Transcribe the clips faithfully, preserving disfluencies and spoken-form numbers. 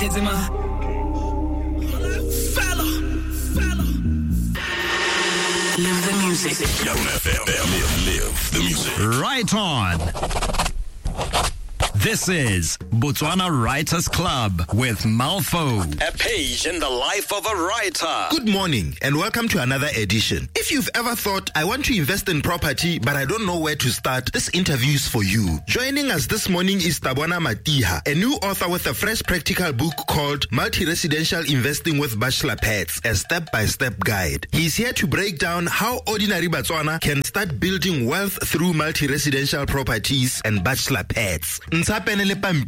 Kids in my fella, fella. Live the music. Live, live the music. Right on. This is Botswana Writers Club with Malfo. A page in the life of a writer. Good morning and welcome to another edition. If you've ever thought, I want to invest in property, but I don't know where to start, this interview is for you. Joining us this morning is Tabona Matiha, a new author with a fresh practical book called Multi-Residential Investing with Bachelor Pads, a step-by-step guide. He's here to break down how ordinary Botswana can start building wealth through multi-residential properties and bachelor pads. Botswana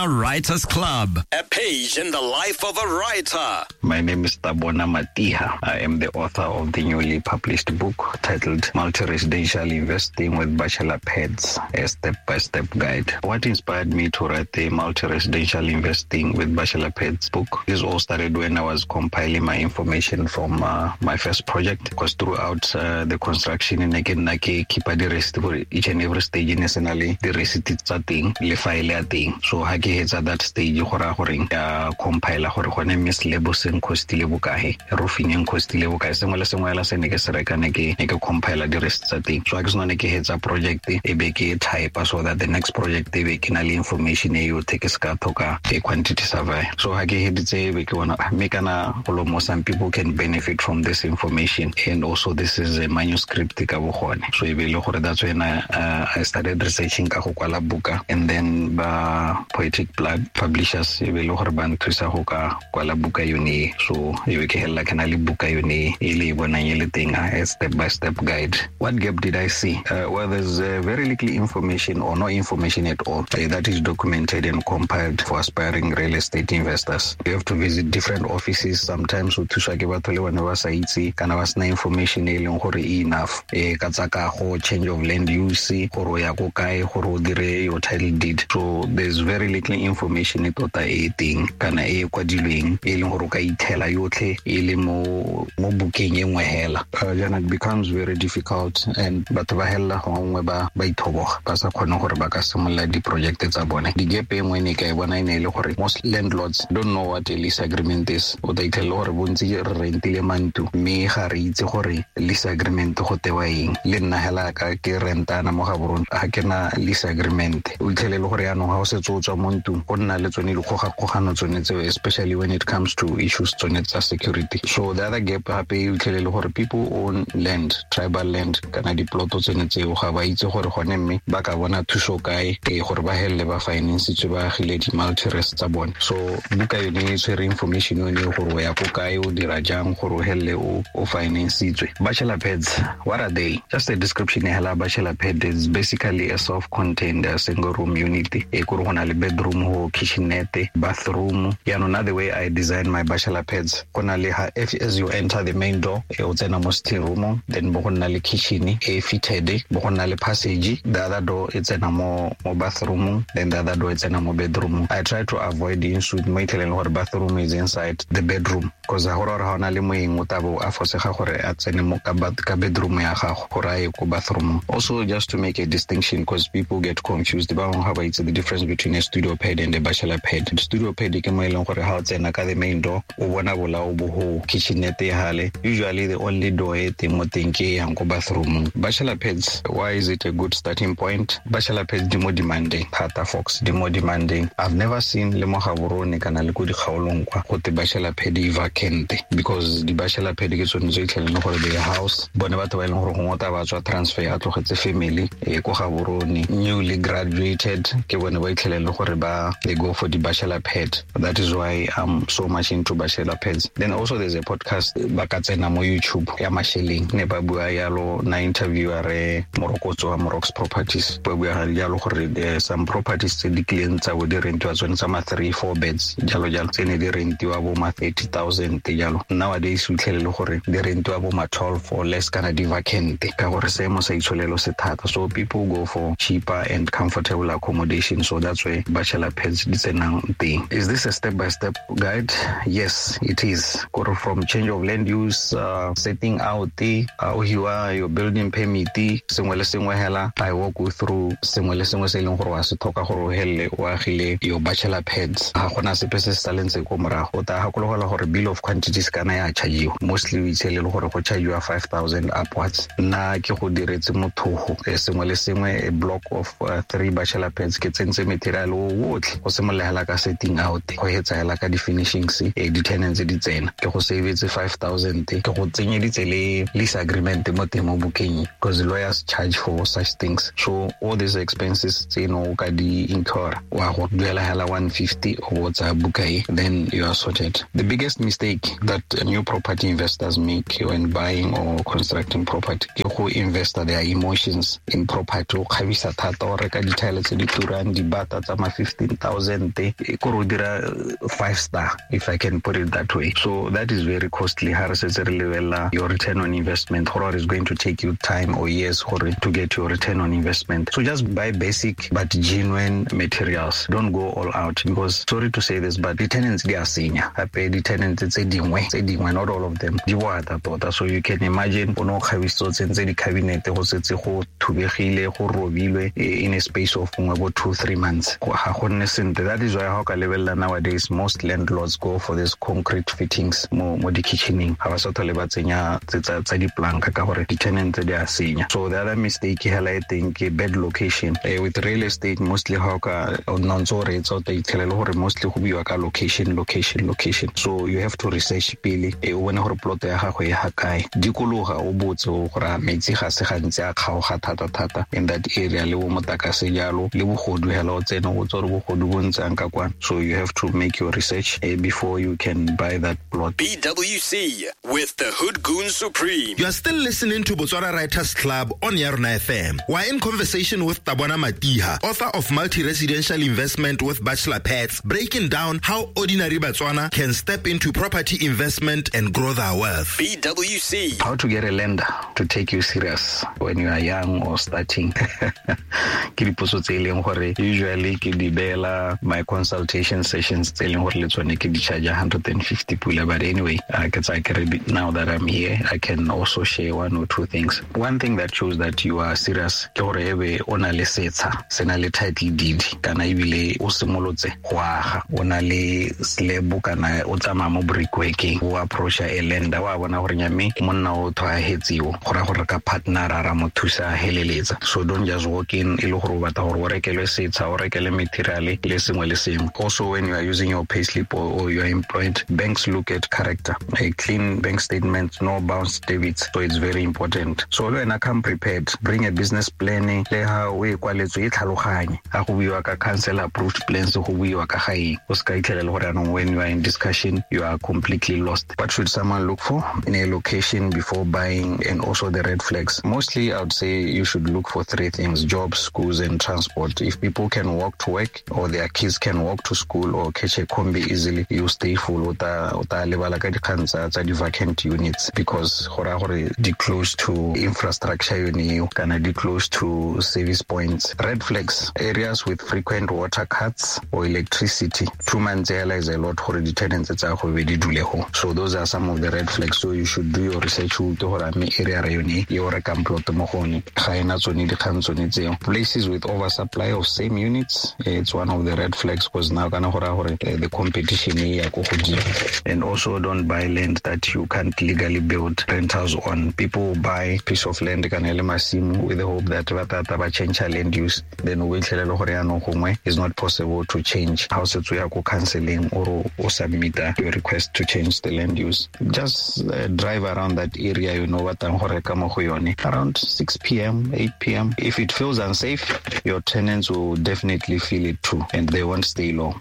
Writers Club, a page in the life of a writer. My name is Tabona Matiha. I am the author of the newly published book titled Multi-Residential Investing with Bachelor Pads, a step-by-step guide. What inspired me to write the Multi-Residential Investing with Bachelor Pads book? This all started when I was compiling my information from uh, my first project, because throughout uh, the construction in Nake keep the receipt for each and every stage nationally, the receipt tsa teng le file ya teng. So ha ke hetsa that stage go ra gore ya compile gore gone mme slab se nkostile bokae, roofing e nkostile bokae, sengwe le sengwe la se ne ke se reka ne ke ne ke compile di rest tsa teng. So ha ke sena ne ke hetsa project e be ke type so that the next project e be ke na le information e yotlhe ke ska thoka ke quantity survey. So ha ke heditse e be ke bona mme kana go mo some people can benefit from this information, and also this is a manuscript ka bo gone. So e be le gore that's when I, uh, I started researching ka go kwala buka, and then ba Poetic Blood Publishers e be le gore ba nthusa go ka kwala buka yone. So e be ke hella ke na le buka yone e le bonang e le teng, a step by step guide. What gap did I see? Uh, well, there's uh, very little information or no information at all uh, that is documented and compiled for aspiring real estate investors. You have to visit different offices. Sometimes o thuswa ke batho le bone ba sa itse kana ba sena information e leng gore e enough e ka tsa kago, change of land use, gore o ya ko kae gore o dire your title deed. So there's very little information e tota e teng kana e kwadilweng e leng gore o ka ithela yotlhe e le mo mo bukeng e nngwe hela. Uh, jaana it becomes very difficult and batho ba hella gongwe ba ba ithoboga ba sa kgone gore ba ka simolola di-project tsa bone. Di-gap e nngwe ne ka e bona e ne e le gore most landlords don't know what a lease agreement is. O tla itlhela gore bontsi re rentile mantlo mme ga re itse gore lease agreement go tewa eng. Le nna hela ka ke rentana mo Gaborone ga ke na lease agreement. O itlhele le gore yaanong ga o setse o tswa mo ntlong go nna le tsone dikgogakgogano tsone tseo, especially when it comes to issues tsone tsa security. So the other gap gape o itlhele le gore people own land, tribal land kana diploto tsone tseo ga ba itse gore gone mme ba ka bona thuso kae e gore ba helele ba financetswe ba agile di-multi-res tsa bone. So buka yone e tshwere information yone gore o ya ko kae, o dira jang gore o helele o o financetswe. Bachelor pads, what are they? Just a description hela. Bachelor pad is basically a self-contained uh, single room unit e kore go na le bedroom, ho kitchenette, bathroom. Yaanong na the way I design my bachelor pads, go na le ha if as you enter the main door e o tsena mo sitting room, then bo go nna le kitchen e fitted, bo go nna le passage, the other door e tsena mo mo bathroom, then the other door e tsena mo bedroom. I try to avoid the ensuite mo itlheleng gore bathroom is inside the bedroom, because ga gore ga ona le moeng o tabo a fosega gore a tsene mo ka ka bedroom ya gago gore a ye ko bathroom. Also, just to make a distinction, because people get confused, ba bangwe ga ba itse the difference between a studio pad and a bachelor pad. The studio pad ke mo e leng gore ga o tsena ka the main door o bona bolao bo ho kitchenette hale, usually the only door e teng mo teng ke yang ko bathroom. Bachelor pads, why is it a good starting point? Bachelor pads di mo demanding thata, folks, di mo demanding. I've never seen le mo Gaborone kana le ko dikgaolong kwa go te bachelor pad e vacant, because di bachelor pad ke tsone tse itlheleng gore the house bone batho ba e leng gore gongwe o tla ba tswa transfer a tlogetse family e ko Gaborone, newly graduated, ke bone ba itlheleng gore ba they go for the bachelor pad. That is why I'm so much into bachelor pads. Then also there's a podcast ba ka tsena mo YouTube ya Masheleng, ne ba bua yalo na interviewer re Morokotso wa Morox Properties, ba bua yalo gore there some properties tse di kileng tsa bo di rentiwa tsone tsa ma three four beds jalo jalo tse ne di rentiwa bo ma thirty thousand thousand jalo. Nowadays o fitlhele le gore di rentiwa bo ma twelve or less kana di vacant ka gore seemo sa itsholelo se thata. So people go for cheaper and comfortable accommodation, so that's where bachelor pads di tsenang teng. Is this a step-by-step guide? Yes, it is. Gore from change of land use, uh, setting out the uh, hiwa your building permit, sengwe le sengwe hela I walk you through sengwe le sengwe se e leng gore wa se tlhoka gore o helele o agile your bachelor pads. Ga gona sepe se se salentse ko morago. O tla gakologelwa gore bill of quantities kana ya chargiwa. Mostly o itshele le gore go chargiwa five thousand upwards. Nna ke go diretse mothogo sengwe le sengwe, a block of uh, three bachelor pads, ke tsentse material o otlhe go simolola hela ka setting out go hetsa hela ka di-finishings, e di-tenants di tsena. Ke go savetse five thousand, ke go tsenyeditse le lease agreement mo teng mo bukeng, because lawyers charge for such things. So all these expenses tseno o ka di incur, wa go duela hela one fifty o tsa buka e, then you are sorted. The biggest mistake that new property investors make when buying or constructing property ke go invest their emotions in property. O kgabisa thata, o reka di-tile tse di turang, dibata tsa ma fifteen thousand, e kore o dira five star, if I can put it that way. So that is very costly. Ha re setse re lebelela your return on investment, gore is going to take you time or years gore to get your return on investment. So just buy basic but genuine materials. Don't go all out, because sorry to say this, but the tenants di a senya. Gape di-tenants tse dingwe tse dingwe, not all of them, di boata tota. So you can imagine o ne o kgabisitse o tsentse di-cabinet go setse go thubegile, go robilwe in a space of gongwe bo two three months. Ga go nne sentle. That is why ha o ka lebelela nowadays most landlords go for this concrete fittings mo mo di-kitchening. Ga ba sa tlhole ba tsenya tsa diplanka ka gore di-tenants di a senya. So the other mistake hela e teng ke bad location. Eh, with real estate mostly ha o ka o nna ntse o reetsa o tla itlhela le gore mostly go buiwa ka location, location, location. So you have to research pele, e o bone gore plot ya gago e ga kae. Dikologa o botse gore metsi ga se gantsi a kgaoga thata thata in that area, le bo motakase jalo, le bogodu hela o tsene o botse gore bogodu bo ntsang ka kwana. So you have to make your research eh, before you can buy that plot. B W C with the Hood Goon Supreme. You are still listening to Botswana Writers Club on Yarona F M. We're in conversation with Tabona Matiha, author of Multi-Residential Investment with Bachelor Pads, breaking down how ordinary Botswana can step into property investment and grow their wealth. B W C. How to get a lender to take you serious when you are young or starting. Ke dipotso tse e leng gore usually ke di beela my consultation sessions tse e leng gore le tsone ke di charge one hundred fifty pula. But anyway, uh, ke tsaya ke re now that I'm here, I can also share one or two things. One thing that shows that you are serious ke gore ebe o na le setsha, se na le title deed, kana ebile o simolotse go aga, o na le slab kana o tsamaya mo brickworking, o approacha a lender, wa bona gore nyame monna o thwahetsiwo go ra gore ka partner ra mo thusa heleletsa. So don't just walk in e le gore o batla gore o rekelwe setsha, o rekele material le sengwe le sengwe. Also, when you are using your payslip or, or you are employed, banks look at character, a clean bank statement, no bounce debits. So it's very important. So le wena come prepared, bring a business plan, le ha o e kwaletswe e tlhaloganye. Ha go buiwa ka council approved plans, go buiwa ka ga eng. O ska itlhela le gore anong when you are in discussion, you are completely lost. What should someone look for in a location before buying, and also the red flags? Mostly, I would say you should look for three things: jobs, schools, and transport. If people can walk to work or their kids can walk to school or catch a combi easily, you stay full. O ta o ta lebala ka dikgang tsa tsa di-vacant units, because go raya gore di close to infrastructure yone eo, kana di close to service points. Red flags: areas with frequent water cuts or electricity. Two months hela is a lot gore di-tenants tsa go be di dule go. So those are some of the red flags. So you should do your research o utlwe gore a mme area ra yone e o rekang plot mo go yone ga ena tsone dikgang tsone tseo. Places with oversupply of same units, it's one of the red flags, because now kana go raya gore the competition e ya ko godimo. And also don't buy land that you can't legally build rentals on. People buy piece of land kana le masimo with the hope that ba tata ba change land use, then o itlhele le gore yaanong gongwe is not possible to change. Ha o setse o ya ko counseling or o submit your request to change the land use, just uh, drive around that area you know batlang go reka mo go yone around six p.m., eight p.m. If it feels unsafe, your tenants will definitely feel it too, and they won't stay long.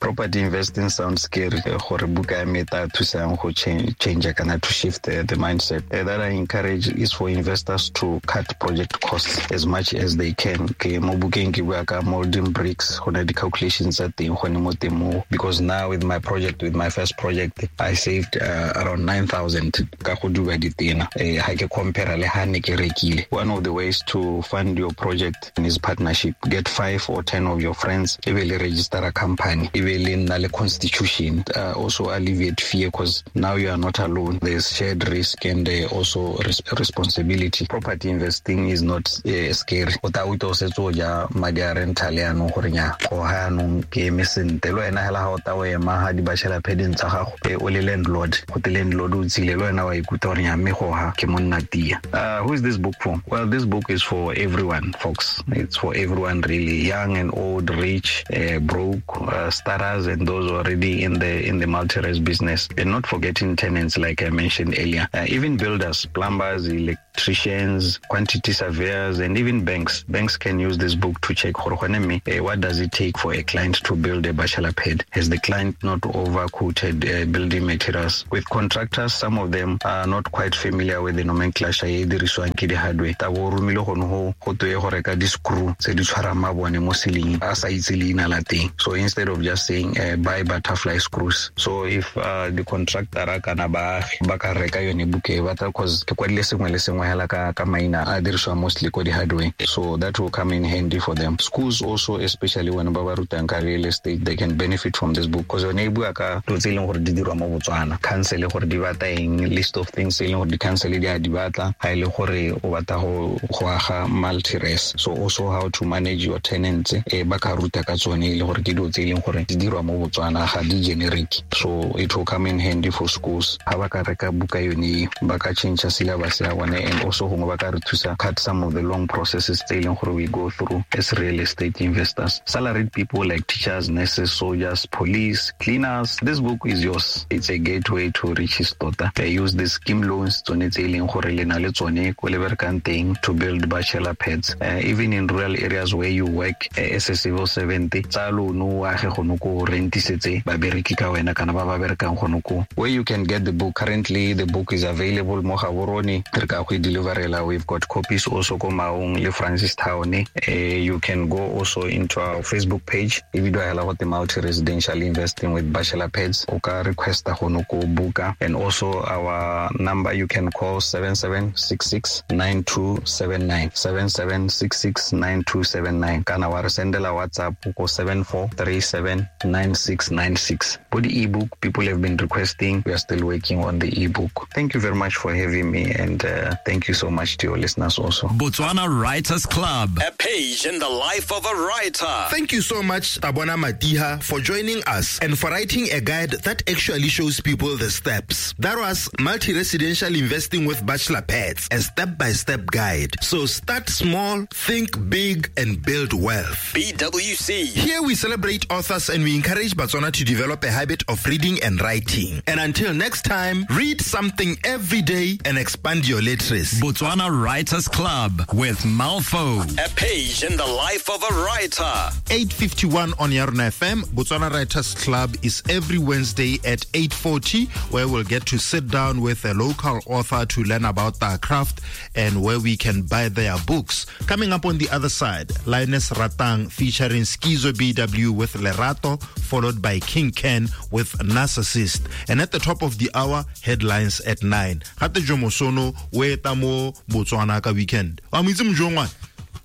Property investing sounds scary. Gore buka ya me e tla thusang go change change kana to shift the, the mindset. Uh, that I encourage is for investors to cut project costs as much as they can. Ke mo bukeng ke bua ka molding bricks, go na di-calculations tsa teng gone mo teng mo, because now with my project, with my first previous project I saved uh, around nine thousand ka go duba ditena. Eh ha ke compare le ha ne ke rekile. One of the ways to fund your project is partnership. Get five or ten of your friends, e be le register a company, e be le nna le constitution. Uh, also alleviate fear, because now you are not alone. There's shared risk and uh, also res- responsibility. Property investing is not uh, scary. O ta o setse o ja madi a rental yaanong gore nya go ha yaanong ke eme sentle. Le wena hela ha o ta o ema ha di bachelor padding tsa gago, o le landlord, go te landlord o tsile le wena wa ikuta gore nya mme go ha ke monna tia. Uh, who is this book for? Well, this book is for everyone, folks. It's for everyone really, young and old, rich, uh, broke, uh, starters and those already in the in the multi-res business. And not forgetting tenants, like I mentioned earlier. Uh, even builders, plumbers, electricians, quantity surveyors, and even banks. Banks can use this book to check what does it take for a client to build a bachelor pad. Has the client not overquoted uh, building materials? With contractors, some of them are not quite familiar with the nomenclature e dirisiwang ke di-hardware. Tabo romile gone go go toe go reka di-screw tse di tshwarang mabone mo ceiling, a sa itse leina la teng. So instead of just saying uh, buy butterfly screws. So if uh, the contractor kana baagi ba ka reka yone buke e batla, cause ke kwadile sengwe le sengwe hela ka ka maina a dirisiwa mostly ko di-hardware. So that will come in handy for them. Schools also, especially when ba ba rutang ka real estate, they can benefit from this book, because yone e bua ka dilo tse e leng gore di dirwa mo Botswana. Council gore di batla eng, list of things e leng gore di-council di a di batla ha e le gore o batla go go aga multi-res. So also how to manage your tenants, e ba ka ruta ka tsone e le gore ke dilo tse e leng gore di dirwa mo Botswana, ga di generic. So it will come in handy for schools. Ha ba ka reka buka yone, ba ka change syllabus ya bone, and also gongwe ba ka re thusa cut some of the long processes tse e leng gore we go through as real estate investors. Salaried people like teachers, nurses, soldiers, police, cleaners, this book is yours. It's a gateway to riches tota. They use the scheme loans tsone tse e leng gore le na le tsone ko le berekang teng to build bachelor pads. Uh, even in rural areas where you work uh, as a civil servant, tsa loan o age gone ko rentisetse babereki ka wena kana ba ba berekang gone ko. Where you can get the book currently, the book is available mo Gaborone, re ka go e deliverela. We've got copies also ko Maung le Francistown. Uh, you can go also into our Facebook page, e bidiwa hela gote Multi-Residential Investing with Bachelor Pads. O ka requesta gone ko buka. And also our number, you can call seven seven six six nine two seven nine, seven seven six six nine two seven nine, kana wa re sendela WhatsApp ko seven four three seven nine six nine six. For the ebook, people have been requesting. We are still working on the ebook. Thank you very much for having me, and uh, thank you so much to your listeners also. Botswana Writers Club, a page in the life of a writer. Thank you so much, Tabona Matiha, for joining us and for writing a guide that actually shows people the steps. That was Multi-Residential Investing with Bachelor Pads, a step-by-step guide. So start small, think big, and build wealth. B W C. Here we celebrate authors and we encourage Botswana to develop a habit of reading and writing. And until next time, read something every day and expand your literacy. Botswana Writers Club with Malfo. A page in the life of a writer. eight fifty-one on Yarona F M. Botswana Writers Club is every Wednesday at eight forty, where we'll get to sit down with a local author to learn about their craft and where we can buy their books. Coming up on the other side, Linus Ratang featuring Schizo B W with Lerato, followed by King Ken with Narcissist. And at the top of the hour, headlines at nine. Gate Jomo Sono, we tamo Botswana ka weekend. Wa mo itse Mojongwana?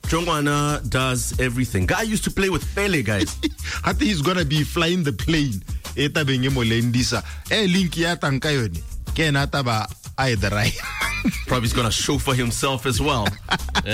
Jongwana does everything. Guy used to play with Pele, guys. I think he's gonna be flying the plane. E tabeng e mo lendisa. E link ya tang ka yone. Ke ena taba a e drive. Probably he's gonna chauffeur himself as well.